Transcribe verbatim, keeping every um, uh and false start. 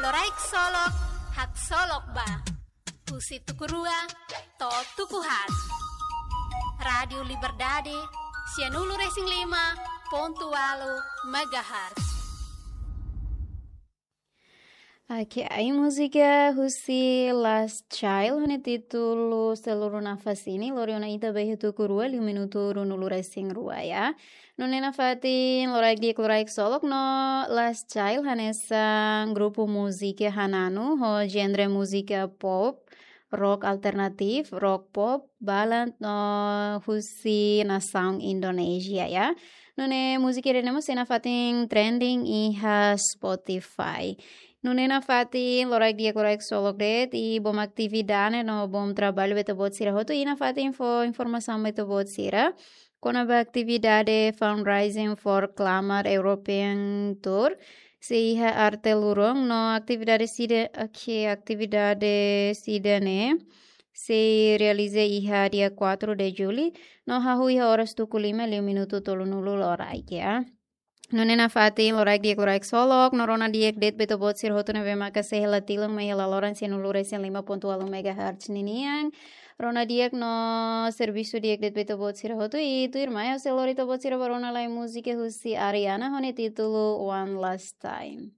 Loraik Solok, haksolok ba. Husi tuku rua to'o tuku haat. Rádiu Liberdade, sianulu-resin-lima pontu ualu megahertz. Oke, ai múzika husi Last Child, ho nia títulu Seluru Nafas Ini, lori ona ita ba iha tuku rua, liu minutu ruanulu-resin-rua, ya. Nune'e nafatin loraik di'ak, loraik solok no Last Child hanesan grupu múzika hananu ho genre múzika pop, rock alternatif, rock pop, ballad no husi nasaun Indonézia, ya. Nune'e múzika ida-ne'e mós sei nafatin trending iha Spotify. Nune'e nafatin loraik di'ak, loraik solok de'it, i boot atividade no boot traballu ba ita-boot sira hotu, i nafatin fó informasaun ba ita-boot sira kona-ba atividade Fundraising for Climate European Tour sei iha Arte Lurong, no atividade sida, oke, atividade sida-ne'e sei realiza iha dia quatro de julho, no hahú iha oras tuku lima liu minutu tolunulu loraik, ya. Nune'e nafatin loraik di'ak, loraik solok, no rona di'ak de'it ba ita-boot sira hotu ne'ebé maka sei hela tilun mai hela loron sianulu-resin-lima pontu ualu megahertz ninian. Rona di'ak no servisu di'ak de'it ba ita-boot sira hotu, i tuirmai ha'u sei lori ita-boot sira ba rona lai múzika husi Ariana ho nia títulu One Last Time.